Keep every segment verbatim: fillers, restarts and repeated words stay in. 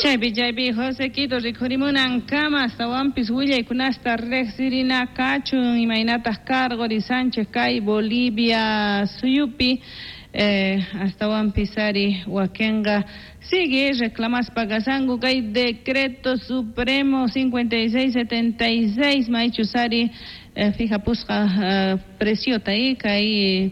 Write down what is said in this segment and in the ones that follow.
Chaypi chaypi José Quito rikhurimunan kama astawanpis willaykunasta riqsirina kachun imaynataq cargo Sánchez kay Bolivia suyupi eh, astawanpis ari wakenqa sigue reclamaspa kasanku kay decreto supremo cincuenta y seis setenta y seis maychus ari eh, fijapusqa eh, preciota y kay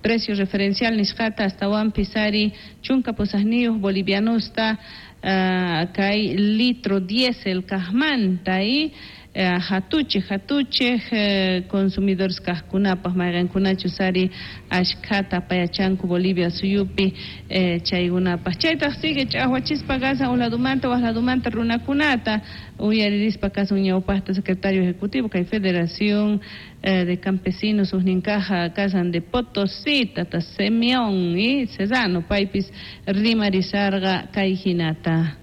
precio referencial nisqata astawanpis ari chunka pusaqniyuq bolivianusta uh, kay litro diésel kaqmanta y uh, hatuchej hatuchej uh, consumidores kaqkunapaq mayqankunachus ari ashkhata payachanku Bolivia suyupi eh, chaykunapaq chaytaq sigue ch'aqwachispa kasan uj ladumanta waj ladumanta runakunata uyaririspa kasun ñawpaqta secretario ejecutivo kay Federación eh, de Campesinos ujninkaja kasan de Potosí tata Simeón y Cesano paypis rimarisarqa kay hinata.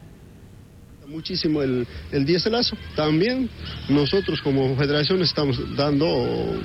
Muchísimo el, el dieselazo. También nosotros como federación estamos dando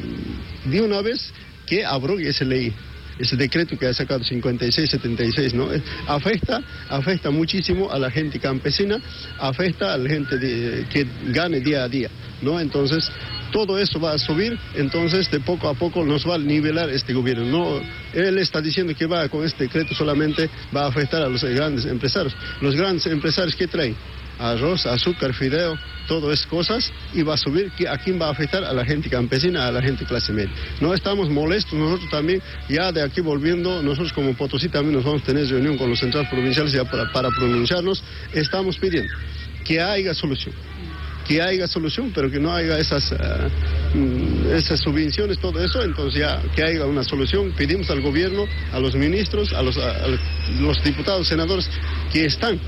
de una vez que abrogue esa ley, ese decreto que ha sacado cincuenta y seis setenta y seis, ¿no? Eh, Afecta, afecta muchísimo a la gente campesina, afecta a la gente de- que gane día a día, ¿no? Entonces, todo eso va a subir, entonces de poco a poco nos va a nivelar este gobierno. No, él está diciendo que va con este decreto solamente va a afectar a los grandes empresarios. Los grandes empresarios, ¿qué traen? Arroz, azúcar, fideo, todo es cosas y va a subir. ¿A quién va a afectar? A la gente campesina, a la gente clase media. No estamos molestos nosotros también, ya de aquí volviendo, nosotros como Potosí también nos vamos a tener reunión con los centrales provinciales ya para, para pronunciarnos. Estamos pidiendo que haya solución que haya solución, pero que no haya esas, uh, esas subvenciones, todo eso, entonces ya que haya una solución. Pedimos al gobierno, a los ministros, a los, a, a los diputados, senadores que están,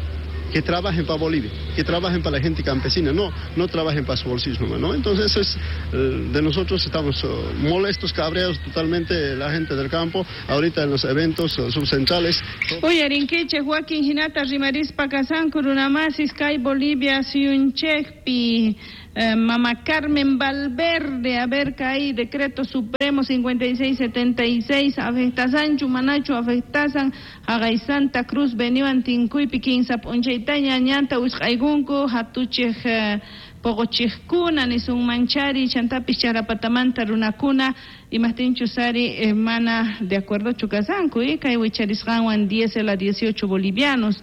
que trabajen para Bolivia, que trabajen para la gente campesina, no, no trabajen para su bolsillo nomás, ¿no? Entonces eso es, eh, de nosotros estamos uh, molestos, cabreados totalmente la gente del campo, ahorita en los eventos uh, subcentrales. Uyarinkichej wakin hinata rimarispa kasanku runamasis kay Bolivia suyunchejpi eh, Mama Carmen Valverde, a ver, kay decreto supremo cincuenta y seis setenta y seis afectasanchu manachu afectasan haqay Santa Cruz Beniwan tinkuypi kinsa p'unchaytaña ñanta wisq'aykunku hatuchej eh, poqochejkuna nisunmanchari chantapis charapatamanta runakuna imajtinchus ari eh, mana de acuerdochu kasanku y kay wicharisqanwan diésel a dieciocho bolivianos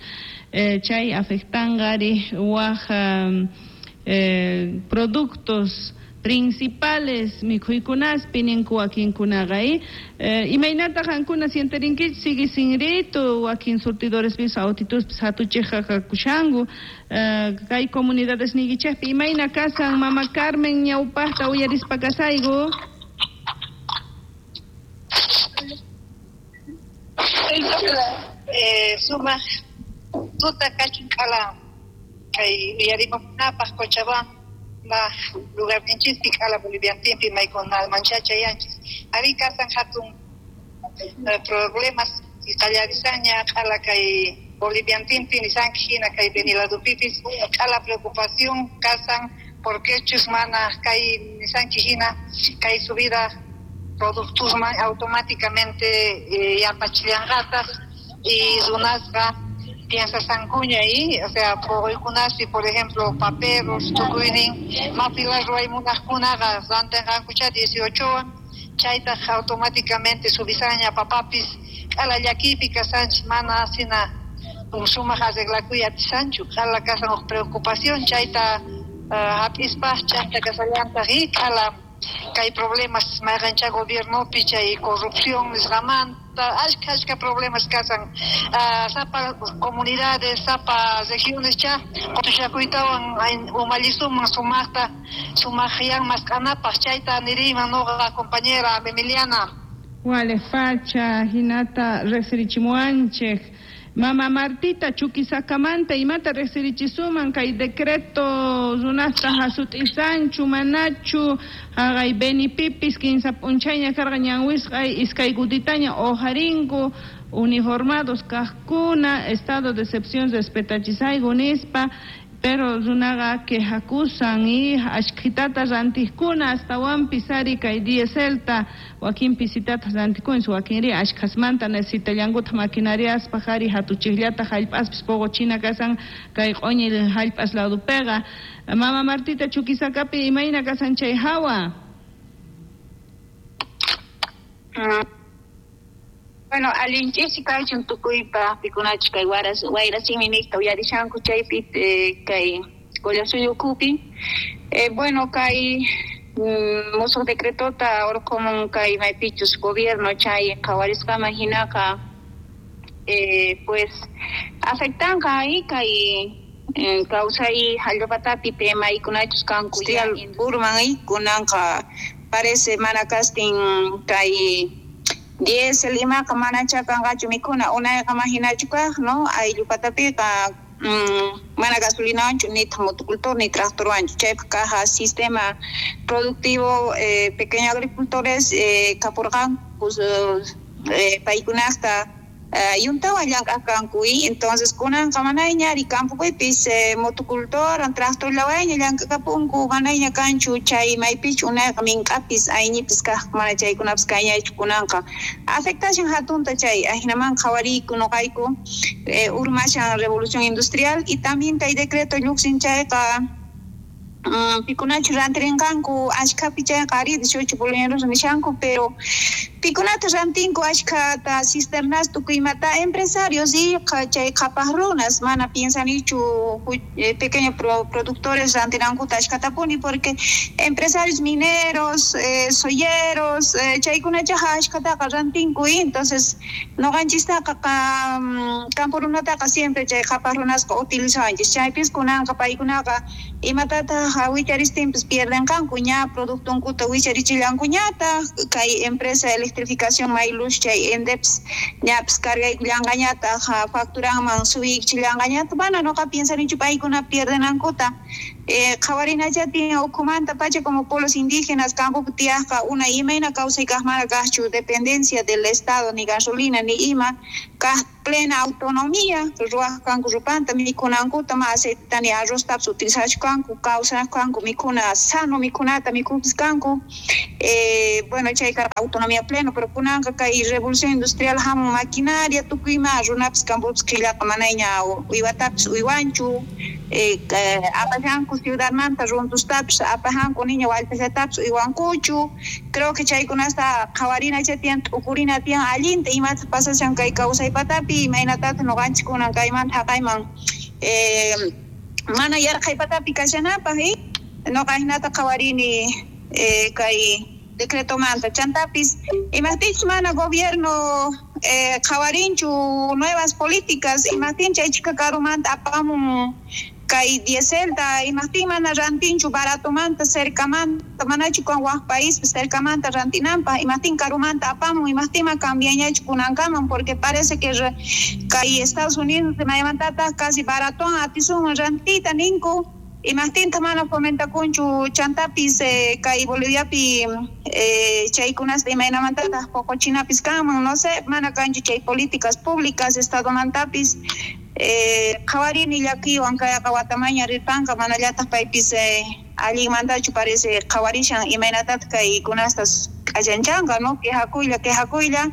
eh, chay afectanqa ari waj um, eh, productos principales mikhuykunaspi ninku wakinkunaqa y eh, imaynata qankuna sienterinkichik sigue sinritu wakin surtidorespis autituspis hatuchejqa kakushanku eh, kay comunidades niykichejpi imayna kasan Mama Carmen ñawpaqta uyarispa kasayku. eh, sumaq tuta kachun k'ala kay uyarimuqkunapaq Cochabamba lugarninchispi k'ala boliviantinpi maykunamanchá chayanchis ari kasan hatun eh, problemas qallarisanña k'ala kay boliviantinpi nisanki hina kay Beni ladupipis k'ala preocupación kasan porque chus mana kay nisanki hina kay subida productusman automáticamente eh, yapachillanqataq y runasqa piensasankuña y o sea puquykunaspi, por ejemplo, paperos tukuynin mapila ruway munaqkunaqa rantinqankucha dieciochowan chaytaq automáticamente subisaña papapis k'ala llakiypi kasanchis mana sina sumaq arreglakuy atisanchu k'ala kasan huk preocupación chayta uh, hap'ispaq chayta kasallantaq y k'ala kay problemas mayqancha gobiernopi chay corrupción nisqamanta ashka ashka problemas kasan uh, sapa comunidades, sapa regiones cha qutuchakuytawan umallisuman sumaqta sumaqyan mask'anapaq chayta niriyman nuqa, compañera Emiliana. Wale facha hinata riqsirichimuwanchik Mama Martita Chuquisakamanta imata riqsirichisuman kay decreto runasta hasut'isanchu manachu haqay Benipipis kinsa p'unchayña karqa ñan wisq'ay iskay kutitaña uqharinku uniformados kaqkuna estado de excepción respetachisayku nispa. Pero runaqa quejakusan y ashkhitata rantiqkuna astawanpis ari kay dieselta wakin pisitata rantikunchis wakinri ashkhasmanta necesitallankuta maquinariaspaq ari hatuchiqllata hallp'aspis poqochina kasan kay q'uñi hallp'as ladupiqa. Mama Martita, Chuquisacapi imayna kasan chay hawa? Bueno, allinchisi kaychun tukuypaq pikunachus kay waras wayrasimi niqta uyarishanku chaypi eh, kay Collasuyo ukupi. Eh, bueno, kay mm, musuq decretota urqumun kay maypichus gobierno chay qhawarisqaman hinaqa eh, pues afectanqa ahí kay eh, kawsay hallp'apatapi temaykunachus kanku urman y kunanqa parece mana kastin kay diésel imaqa manacha kanqachu mikhuna unayqa mahinachu kaq, no ayllupatapiqa mm, mana gasolinawanchu nitaq motocultor ni tractorwanchu chaypaq kaja sistema productivo eh, pequeño agricultores eh, kapurqanku eh, paykunaqta Uh, yuntawan llank'aq kanku y entonces kunanqa manayña ari campopipis eh, motocultor tractorllawayña llank'akapunku manayña kanchu chay maypichu unayqa mink'apis ayñipis kaq mana chaykunapis kayñaychu kunanqa afectashan hatunta chay ajinaman qhawariyku nuqayku eh, urmashan revolución industrial y también kay decreto lluqsin chayqa Mm, pikunachu rantirinqanku ashkhapi chayqa ari dieciocho bolivianos nishanku pero pikunata rantinku ashkhata cisternas tukuymata empresarios y chay qhapaq runas mana piensanichu eh, pequeños pro, productores rantinankuta ashkhatapuni porque empresarios mineros eh, soyeros eh, chaykunachaqa ashkhataqa rantinku y entonces nuqanchistaqa campo runataqa siempre chay qhapaq runasqa utilizawanchis chaypis kunanqa paykunaqa imatataq wicharistinpis pierdenqanku ña productunkuta wicharichillankuñataq kay empresa electrificación Mayluz chay ENDEPS ñapis cargaykullanqañataq facturanman subiychillanqañataq mana nuqa piensanichu paykuna pierdenankuta eh, qhawarinachatin ukhumanta pacha como pueblos indígenas campopi tiyaqqa una imayna kawsay kaq mana kaqchu dependencia del estado ni gasolina ni ima kaq plena autonomía ruwaq kanku rupanta mikhunankuta ma aceiteta ni arroztapis utilizachuk kanku kawsanaq kanku mikhuna sano mikhunata mikhupis kanku eh, bueno chay karqa autonomía pleno pero kunanqa kay revolución industrial hamun maquinaria tukuy ima runapis campopis qillaqa manayña uywatapis uywanchu eh, apashanku ciudadmanta runtustapis apajanku niña wallpallatapis uywankuchu creo que chaykunasta qhawarinacha tiyan t'ukurina tiyan allinta imata pasashan kay kawsaypatapi imaynatata nuqanchik kunan kaymanta haqayman eh, mana yarqhaypatapi kashanapaq eh? Nuqa hinata qhawarini eh, kay decretomanta chantapis imaqtinchus mana gobierno eh, qhawarinchu nuevas políticas imaqtin chay chika karumanta apamun kay dieselta imaqtin mana rantinchu baratomanta cercamanta manachu kan waj país cercamanta rantinanpaq imaqtin karumanta apamun imaqtin ma cambiañachu kunankaman porque parece que kay Estados Unidos maymantataq casi baratoan atisunman rantita ninku imaqtinta mana fomentakunchu chantapis eh, kay Boliviapi eh, chaykunasta imaynamantataq poqochinapis kanman no sé mana kanchu chay políticas públicas estadomantapis eh, qhawarini llakiywan kayqa watamaña rirpanqa manallataq paypis eh, allinmantachu parece qhawarishan imaynatataq kaykunastas k'allanchanqa no quejakuylla quejakuylla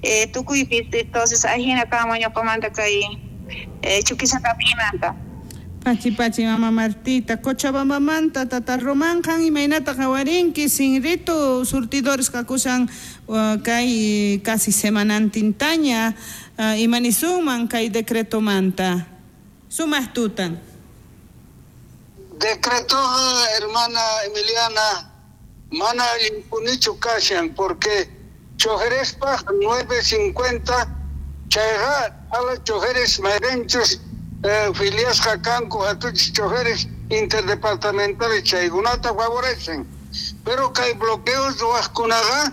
eh, tukuypis entonces ajina kanman ñuqamanta kay eh, Chuquisacapimanta. Pachi pachi mama Martita, Cochabambamanta tata Román qan imaynata qhawarinki sinritu surtidores kakushan uh, kay casi semanantintaña uh, imanisunman kay decretomanta sumaq tutan. Decreto hermana Emiliana mana allinpunichu kashan porque chojerespaq nueve cincuenta chayqa ala chojeres mayrenchus Eh, filiasqa kanku hatuchis chojeres interdepartamentales chaykunata favorecen pero kay bloqueos ruwaqkunaqa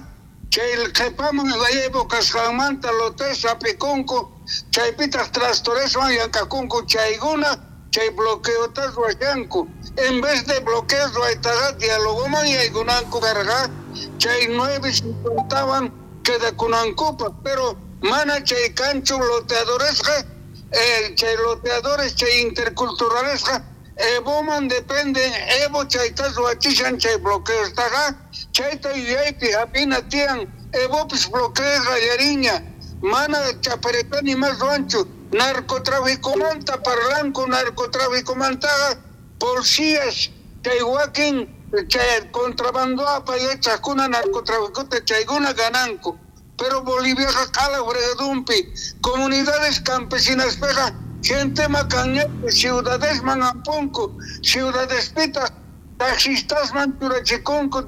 chay qhipaman Evo kasqanmanta lotes apikunku chaypitaq trastoreswan llank'akunku chaykuna chay bloqueota ruwashanku en vez de bloqueos ruwaytaqa dialogoman yaykunanku karqa chay nueve cincuentawan quedakunankupaq pero mana chay kanchu loteadoresqa Eh, chay loteadores, chay interculturalesqa, Evoman dependen, Evo chayta ruwachishan chay bloqueostaqa, chayta yuyaypi hap'ina tiyan, Evopis bloqueo qallariña, mana chaparetani mas ruwanchu, narcotráficomanta parlanku, narcotráficomantaqa policías chay wakin chay contrabando apayachaqkuna narcotráficota chaykuna gananku. Pero Boliviaqa q'ala fregadumpi, comunidades campesinaspiqa gente makanñapi ciudadesman ampunku, ciudadespitaq taxistasman churachikunku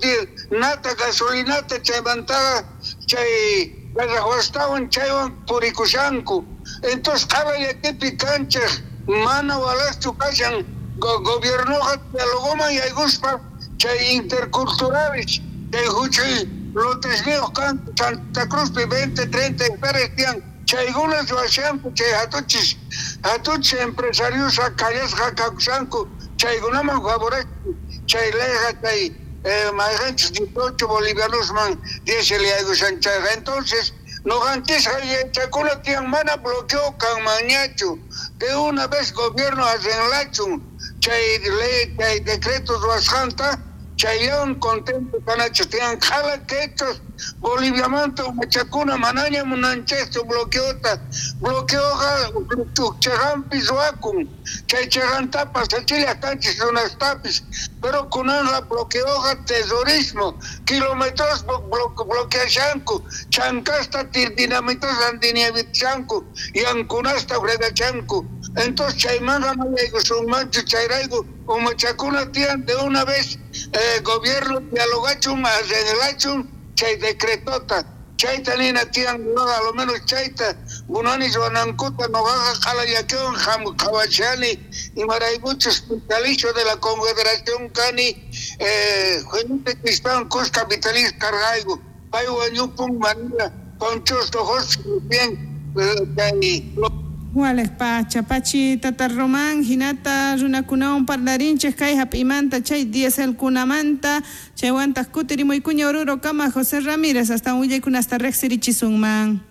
nata gasolinata chaymantaqa chay garrahuastawan chaywan purikushanku. Entonces q'ala llakipi kanchej mana walaqchu kashan go gobiernoqa dialogoman yaykuspa chay interculturales chay huchuy lotesniyuq kanku Santa Cruzpi veinte, treinta hectáreas tiyan chaykuna ruwashanku chay hatuchis hatuchis empresarios kallasqa kakushanku chaykunaman favorecen chay leyqa chay eh, mayqanchis dieciocho bolivianosman diésel yaykushan chayqa. Entonces noqanchisqa yachakuna tiyan mana bloqueo kanmanñachu, de una vez gobierno arreglachun chay ley chay decreto ruwasqanta chayllawan contento kanachis tiyan q'ala quechos Boliviamanta umachakuna manaña munanchikchu bloqueota, bloqueoqa chaqanpi ruwakun chay chaqantapas achilla kanchis runastapis, pero kunanqa bloqueoqa terrorismo, kilómetros bloqueashanku, chankasta dinamitas dinamitashanku, yankunasta fregachanku. Entonces chaymanqa mayaykusunmanchu chayrayku umachakuna tiyan de una vez eh, gobierno dialogachun arreglachun chay decretota chayta nina tiyan a lo menos chayta munani ruwanankuta noqaqa q'ala llakiwan qhawachani imaraykuchus vitalicio de la Confederación kani eh, Felipe Crispán kuska vitalicio karqayku pay wañupun manila conchosto José bien chay Wales pacha pachi tata Román hinata runakunawan parlarinchej kay hap'imanta chay dieselkunamanta chaywantaq kutirimuykuña Oruro kama José Ramírez hasta willaykunasta riqsirichisunman.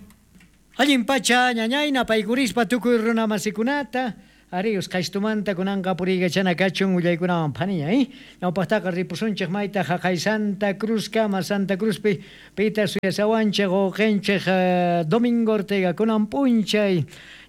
Allin pacha ñañayna paykurispa tukuy runamasikunata arius qaystumanta kunanqa puriykachana kachun willaykunawan phaniña eh ñawpaqtaqa ripusunchej mayta jaqay Santa Cruz kama Santa Cruzpi pita suyasawanchej uqinchej Domingo Ortega kunan p'unchay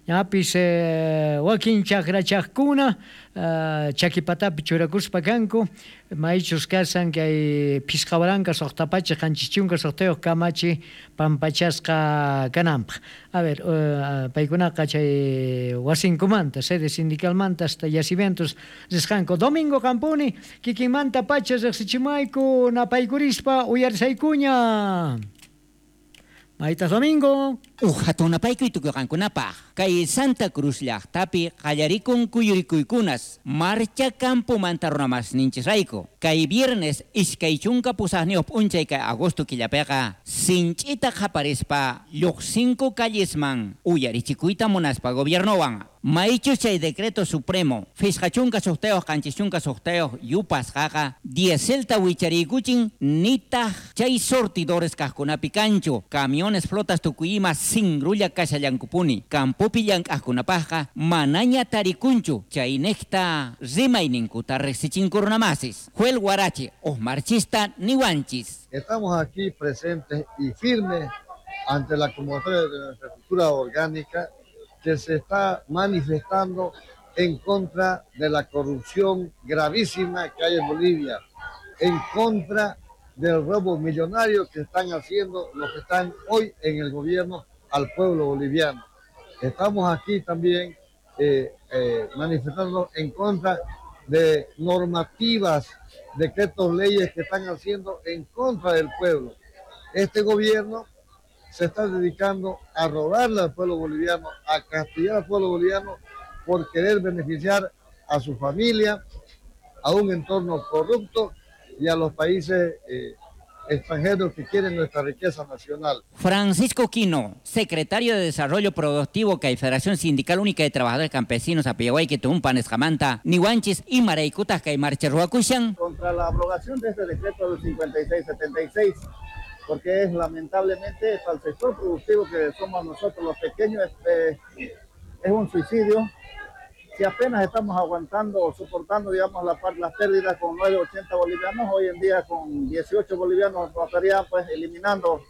ñapis eh, wakin chaqrachaqkuna uh, chakipatapi churakuspa kanku maychus kasan kay phisqa waranqa suqta pachak qanchis chunka suqtayuq kamachi pampachasqa kananpaq. A ver, uh, paykunaqa chay wasinkumanta sede sindicalmanta hasta yacimientos risqanku. Domingo Campuni kikinmanta pacha riqsichimayku napaykurispa uyarisaykuña. Maytas Domingo. Uj hatunapaykuy tukuqankunapaq kay Santa Cruz llaqtapi qallarikun kuyurikuykunas marcha campomanta runamasninchisrayku kay viernes iskay chunka pusaqniyuq p'unchay kay agosto killapiqa sinch'ita qaparispa lluqsinku callesman uyarichikuyta munaspa gobiernowan maychus chay decreto supremo phisqa chunka suqtayuq qanchis chunka suqtayuq yupasqaqa dieselta wichariykuchin nitaq chay sortidores kaqkunapi kanchu camiones flotas tukuy ima singrulla kashallankupuni campopi llank'aqkunapaqqa manaña tarikunchu chaynejta rimayninkuta riqsichinku runamasis. Joel Guarache, o marchista niwanchis. Estamos aquí presentes y firmes ante la convocatoria de nuestra estructura orgánica que se está manifestando en contra de la corrupción gravísima que hay en Bolivia, en contra del robo millonario que están haciendo los que están hoy en el gobierno al pueblo boliviano. Estamos aquí también eh, eh, manifestándonos en contra de normativas, decretos, leyes que están haciendo en contra del pueblo. Este gobierno se está dedicando a robarle al pueblo boliviano, a castigar al pueblo boliviano por querer beneficiar a su familia, a un entorno corrupto y a los países eh, extranjeros que quieren nuestra riqueza nacional. Francisco Quino, secretario de Desarrollo Productivo que Federación Sindical Única de Trabajadores Campesinos Apiahuay que Tumpan Escamanta, Nihuanchis y Maraycutas que Marcherhuacushan. Contra la abrogación de este decreto del cincuenta y seis setenta y seis, porque es lamentablemente para el sector productivo que somos nosotros los pequeños, este, es un suicidio. Si apenas estamos aguantando o soportando, digamos, la, las pérdidas con nueve ochenta bolivianos, hoy en día con dieciocho bolivianos nos estarían pues eliminando,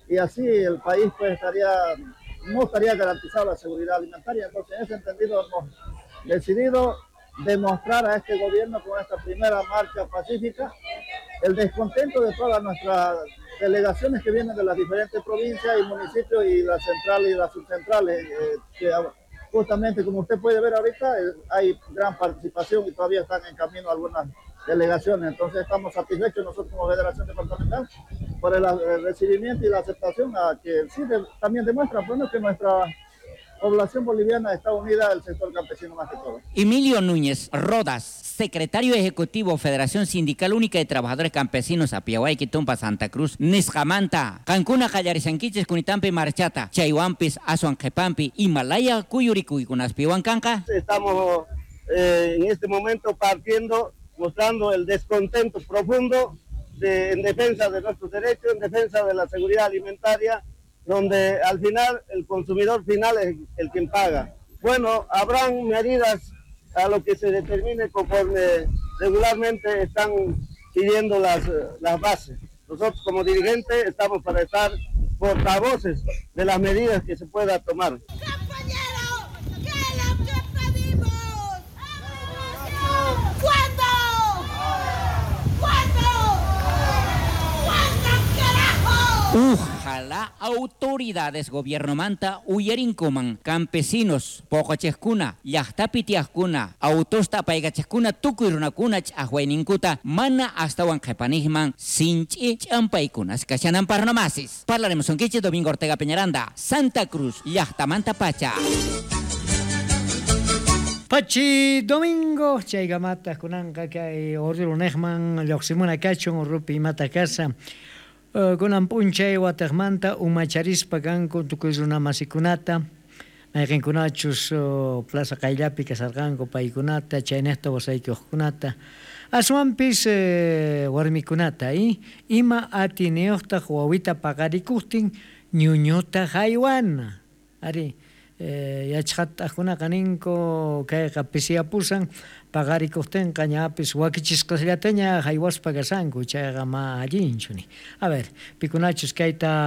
y así el país pues estaría, no estaría garantizada la seguridad alimentaria. Entonces, en ese entendido hemos decidido demostrar a este gobierno con esta primera marcha pacífica el descontento de todas nuestras delegaciones que vienen de las diferentes provincias y municipios y las centrales y las subcentrales, eh, que justamente como usted puede ver ahorita, eh, hay gran participación y todavía están en camino algunas delegaciones. Entonces estamos satisfechos nosotros como Federación Departamental por el, el recibimiento y la aceptación a que sí de, también demuestra, bueno, que nuestra población boliviana está unida al sector campesino más que todo. Emilio Núñez Rodas, secretario ejecutivo Federación Sindical Única de Trabajadores Campesinos Apiahuay, Tumpa, Santa Cruz, Nisqamanta, Cancuna, Qallarishankichis, Kunitampi, Marchata, Chaywampis, Aswan Qhepampi, Himalaya, Kuyurikuykunaspiwan kanqa. Estamos eh, en este momento partiendo, mostrando el descontento profundo de, en defensa de nuestros derechos, en defensa de la seguridad alimentaria, donde al final el consumidor final es el quien paga. Bueno, habrán medidas a lo que se determine conforme regularmente están pidiendo las, las bases. Nosotros como dirigentes estamos para estar portavoces de las medidas que se pueda tomar. ¡Compañero! ¿Qué es lo que pedimos? ¿Cuándo? ¿Cuándo? ¿Cuándo, carajo? Ojalá autoridades gobierno manta uyarinkuman campesinos poqochejkuna llaqtapi tiyaqkuna autosta apaykachajkuna tukuy runakuna ch'aqwayninkuta mana astawan qhipanijman sinch'i ch'ampaykunas kashananpaq runamasis. Parlaremos sonquiche Domingo Ortega Peñaranda, Santa Cruz, llaqtamanta pacha. Pachi Domingo, chaykamata kunanqa kay Orrunejman lluqsimuna kachun urrupi imata kasa. Uh, kunan p'unchay wataqmanta umacharispa kanku tukuy runamasikunata mayqinkunachus uh, plaza qayllapi kasarqanku paykunata chaynejta wasaykuqkunata aswanpis eh, warmikunata y ima atiniyuqtaq wawita paqarikuqtin ñuñuta haywana ari eh, yachaqtaqkunaqa ninku kayqa pisiyapusan paqarikuqtinqa ñapis wakichisqasllataña haywaspa kasanku chayqa ma allinchu ni. A ver, pikunachus kayta